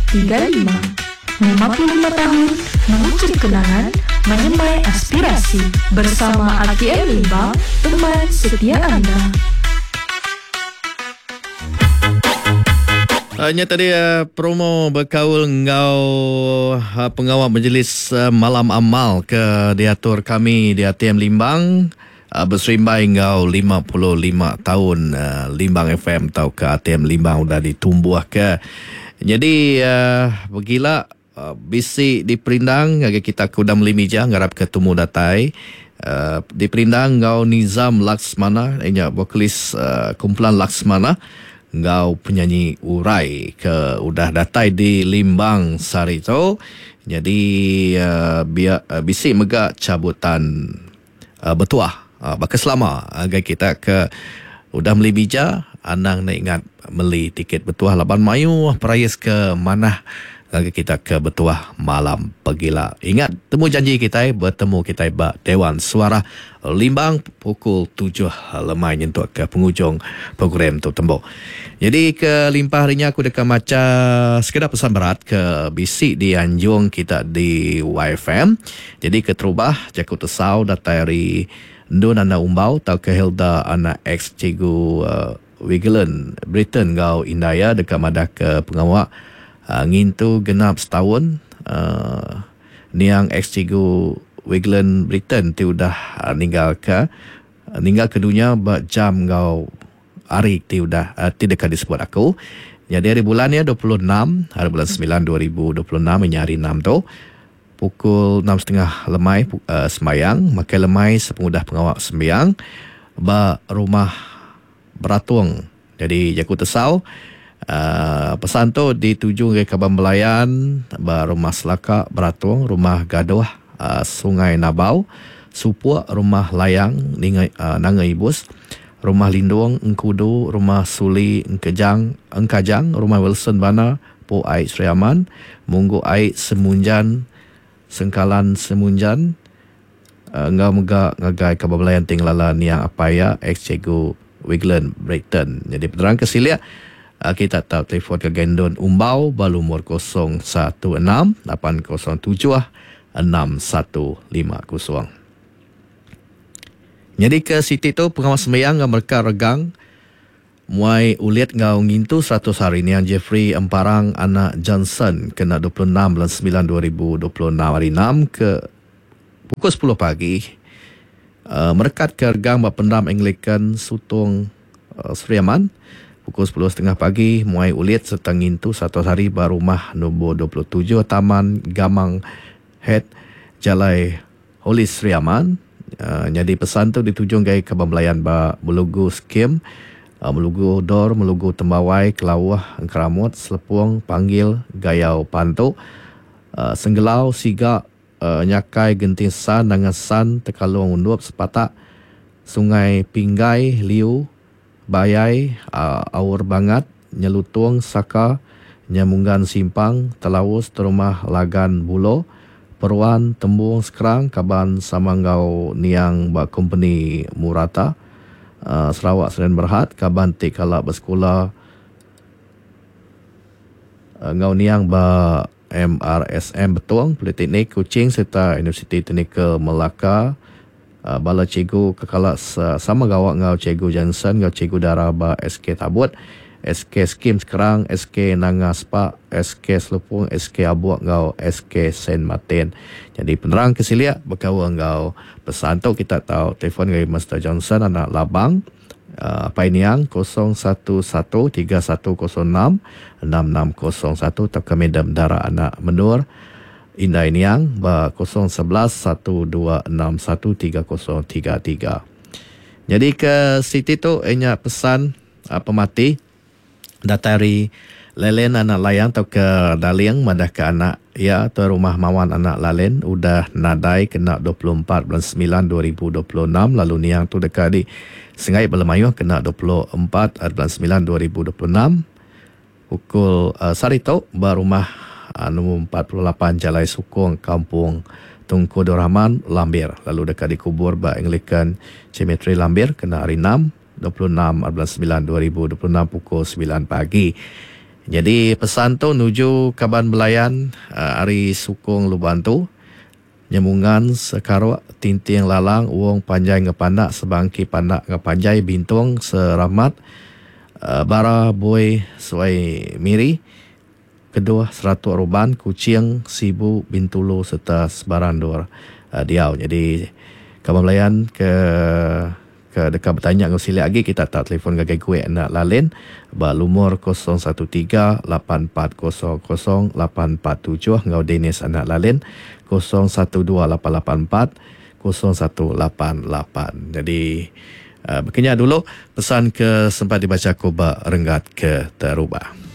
35. 55 tahun mengukir kenangan, menyemai aspirasi. Bersama RTM Limbang, teman setia anda. Uh, nya tadi uh, promo bekaul enggau uh, pengawa majlis uh, malam amal ke diatur kami di ATM Limbang uh, beserimbai enggau 55 taun uh, Limbang FM tauka ATM Limbang udah ditumbuhka. Jadi uh, begila uh, bisi diperindang ngagai kita ke udah meli mija ngarapka tumu datai. Uh, diperindang enggau Nizam Laksmana iya nya vokalis uh, kumpulan Laksmana enggau penyanyi Urai ke udah datai di Limbang sehari tu. Nyadi uh, bia, uh, bisi mega cabutan uh, betuah uh, baka selama ngagai kita ke udah meli bija anang enda ingat meli tiket betuah laban mayuh perais ke manah ngagai kita ke betuah malam pegila. Ingat temu janji kitai betemu kitai ba Dewan Suarah Limbang pukul tujuh lemai nyentuk ke pengujung program tu tembu. Nyadi ke limpah ari nya aku deka macha sekeda pesan berat ke bisi dianjung kita di YFM. Nyadi keterubah jaku tesau datai ari Endun Anak Umbau tauka Hilda anak ex Cikgu Wigland Britain enggau indai iya deka madahka pengawa ngintu genap setaun niang ex-cikgu Wigland Britain ti udah ninggalka ninggalka dunya ba jam enggau hari ti udah ti deka disebut aku. Nyadi hari bulan iya 26 hari bulan semilan 2026 inya hari enam tu pukul enam setengah lemai sembahyang makai lemai sepengudah pengawa sembiang ba rumah Beratung. Nyadi jaku tesau pesan tu dituju ngagai kaban belayan ba Rumah Selaka Beratung, Rumah Gadoh Sungai Nabau, Supuk Rumah Layang Ninga Nanga Ibus, Rumah Lindong Engkudu, Rumah Suli Engkejang Engkajang, Rumah Wilson Bana, Po Ai Sri Aman, Munggu Ai Semunjan Sengkalan Semunjan, Enggau mega ngagai kaban belayan ti ngelala niang apai iya ex Cikgu Wigland Brayton. Nyadi penerang ke silik kita tau telefon ngagai Endun Umbau ba lumur 016 807 6150. Nyadi ke siti tu pengawa sembiang enggau mereka regang Muai ulit enggau ngintu 100 hari niang Jeffrey Emparang anak Johnson kena 26 bulan semilan 2026 hari enam ke pukul sepuluh pagi merekat ke regang ba Pendam Anglican Sutong Sri Aman pukul sepuluh setengah pagi muai ulit sereta ngintu 100 hari ba rumah nombor 27 Taman Gamang Head Jalai Holy Sri Aman nyadi pesan tu ditujung ngagai kaban belayan ba Melugu Skim, Melugu Dor, Melugu Tembawai, Kelauh, Engkeramut, Selepong, Panggil, Gayau Pantu, Senggelau, Siga, Nyakai, Genting San, Nanga San, Tekalong Undup, Sepatak, Sungai Pinggai, Liu, Bayai, Aur Bangat, Nyelutung, Saka, Nyamunggan Simpang, Telaus, Terumah, Lagan, Bulo, Peruan, Tembung, Skrang, kaban sama enggau niang ba kompeni Murata, Sarawak Sdn Berhad, kaban ti kala besekula enggau niang ba MRSM Betong, Politeknik Kuching sereta Universiti Teknikal Melaka. Bala cikgu ke kala sama gawa enggau Cikgu Johnson enggau Cikgu Dara ba SK Tabut, SK Skim Skrang, SK Nanga Spak, SK Selupong, SK Abuk enggau SK Saint Martin. Nyadi penerang ke silik bekaul enggau pesan tu kita tau telefon ngagai Mister Johnson anak Labang, Apai Niang 011 3106 6601 tauka Madam Dara anak Menur. Indai Niang ba 0 11 1261 3033. Nyadi ke siti tu iya nya pesan pemati datai ari Lelen anak Layang tauka Daling madahka anak iya tuai rumah Mawan anak Lalen udah nadai kena 24 bulan semilan 2026 lalu niang tu deka di sengai bala mayuh kena 24 bulan semilan 2026. Pukul sehari tu ba rumah nombor 48 Jalai Sukong Kampung Tunku Abdul Rahman, Lambir lalu deka dikubur ba Anglican Cemetery Lambir kena hari Enam, 26 bulan semilan 2026 pukul semilan pagi. Nyadi pesan tu nuju kaban belayan ari Sukong Lubok Antu, Nyemungan Sekarok, Tinting Lalang, Wong Panjai enggau Pandak, Sebangki Pandak enggau Panjai, Bintong Seramat, Bara Bui Suai Miri, Keduh Seratok Ruban, Kuching, Sibu, Bintulu sereta sebarang endur diau. Nyadi kaban belayan ke ke deka betanya enggau silik agi kita tau telefon ngagai Guek enda lalin ba lumur 013 8400 847 enggau Dennis anak lalin 012 884 0188. Nyadi baka nya dulu pesan ke sempat dibacha aku ba renggat ke terubah.